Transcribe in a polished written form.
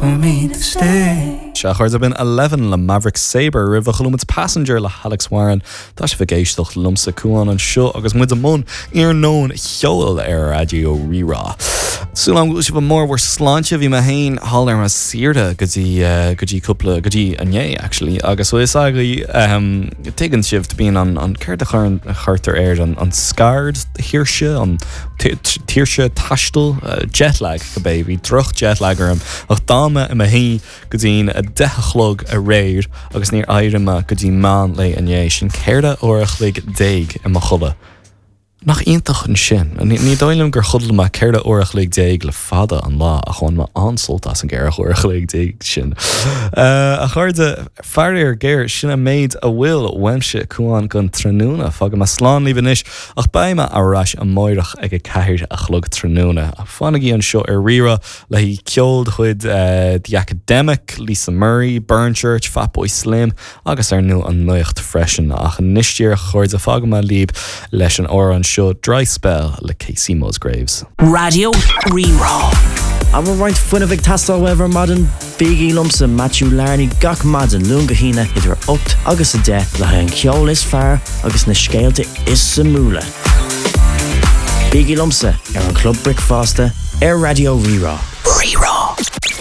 for me to stay. Sea, a chairde, b'in Eleven le Maverick Sabre roimhe chuala muid Passenger le hAlex Warren. Tá sibh ag éisteacht liomsa Cuán anseo agus muid i mbun iarnóin cheoil ar Raidió Rí-Rá. Súil agam go bhfuil sibh i mbarr bhur sláinte, bhí mé féin thall ar mo saoire go dtí go dtí cúpla go dtí inné actually agus bhfuil fhios agaibh ehm tuigeann sibh bíonn an an céard a chuireann a chuirtear air an an scaird-thuirse an tuirse taistil jet lag cibé bhí droch jet lag orm ach d'fhan mé i mo shuí go dtí'n 10 a chlog aréir agus níor éirigh mé go dtí meán lae inné, sin 14 uair a chloig i mo chodladh. Nach iontach ansin? Ní dóigh liom gur chodail mé 14 uair a chloig le fada an lá ach bhain mé an-sult as an gceithre huair a chloig sin. A chairde, faraor géar, sin an méid a bhfuil uaimse, Cuán, don tráthnóna. Fágfaidh mé slán libh anois ach beidh mé ar ais amáireach ag 4 a chlog tráthnóna. Fanaigí anseo ar Rí-Rá le haghaidh ceol de chuid The Academic, Lisa Murray, Burnchurch, Fatboy Slim agus ar ndóigh an nuacht freisin. Ach anois díreach, a chairde, fágfaidh mé libh leis an amhrán seo Dry Spell le Kacey Musgraves. Raidió Rí-Rá. An bhfuil roinnt fuinnimh ag teastáil uaibh ar maidin? Bígí liomsa, Matthew Larney, gach maidin, Luan go hAoine, idir 8 agus 10, le haghaidh an cheoil is fearr agus na scéalta is suimiúla. Bígí liomsa ar an Chlub Bricfeasta ar Raidió Rí-Rá.